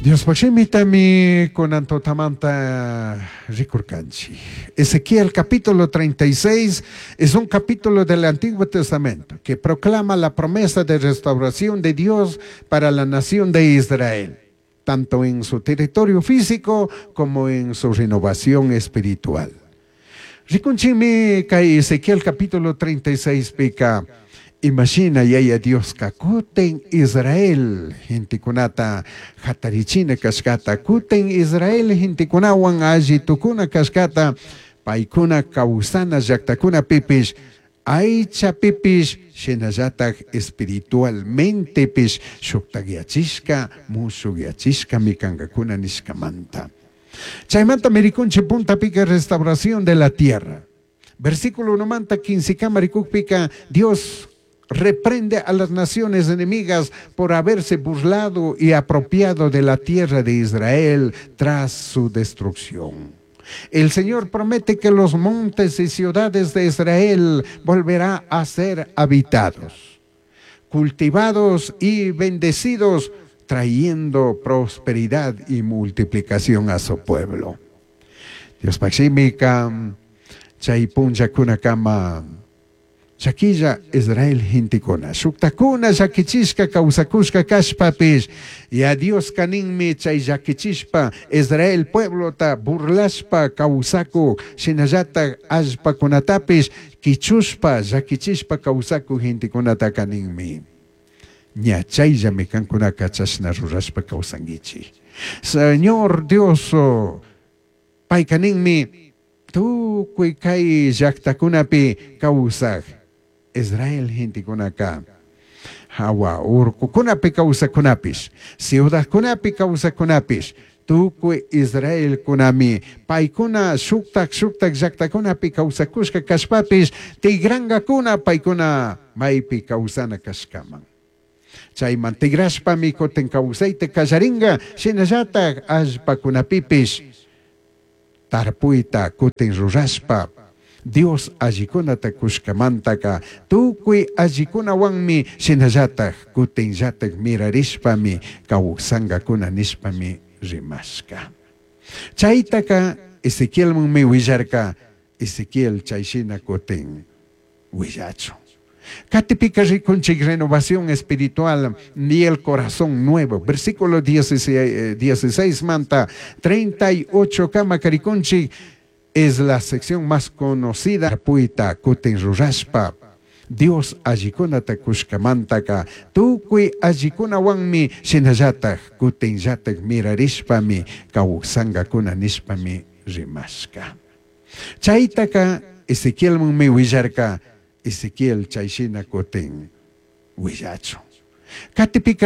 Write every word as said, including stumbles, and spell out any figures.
Diospaj shimitami kunan tutamanta rikurkanchik. Ezequiel capítulo treinta y seis es un capítulo del Antiguo Testamento que proclama la promesa de restauración de Dios para la nación de Israel, tanto en su territorio físico como en su renovación espiritual. Rikunchikmi kay Ezequiel capítulo treinta y seis pika imashina Yaya Dioska kutin Israel gentekunata hatarichina kashkata, kutin Israel gentekunawan alli tukuna kashkata, paykuna kawsana llaktakunapipish aychapipish shinallatak espiritualmentepish shuktakyachishka mushukyachishkami kankakuna nishkamanta. Chaymanta rikunchik puntapika restauración de la tierra. Versículo unomanta quince rikukpika Dios reprende a las naciones enemigas por haberse burlado y apropiado de la tierra de Israel tras su destrucción. El Señor promete que los montes y ciudades de Israel volverá a ser habitados, cultivados y bendecidos, trayendo prosperidad y multiplicación a su pueblo. Diospaj shimika chay punllakunakama llaquilla Israel gentekuna shuktakuna llakichishka kawsakushka kashpapish ya Dioska ninmi chay llakichishpa Israel pueblota burlashpa kawsakuk shinallatak allpakunatapish kichushpa llakichishpa kawsakuk gentekunataka ninmi ña chayllami kankunaka chashna rurashpa kawsankichik. Señor Dios payka ninmi tukuy kay llaktakunapi kawsaq Israel gentekunaka hawa urkukunapi kawsakunapish ciudadkunapi kawsakunapish tukuy Israelkunami paykuna shuktak shuktak llaktakunapi kawsakushka kashpapish tigrankakuna paykuna maypi kawsana kashkaman. Chayman tigrashpami kutin kawsayta kallarinka shinallatak allpakunapipish tarpuyta kutin rurashpa Dios allikunata kushkamantaka tukuy allikunawanmi shinallatak kutinllatak mirarishpami kawsankakuna nishpami rimashka. Chaytaka Ezequielmanmi willarka Ezequiel chayshina kutin willachun. Katipika rikunchik renovación espiritual ni el corazón nuevo. Versículo dieciséis, dieciséis manta treinta y ocho kama rikunchik es la sección más conocida. Puyta kutin rurashpa Dios allikunata kushkamantaka tukuy allikunawanmi shinallatak kutinllatak mirarishpami kawsankakuna nishpami rimashka. Chaytaka Ezequielmanmi willarka Ezequiel chayshina kutin willachun. Katipika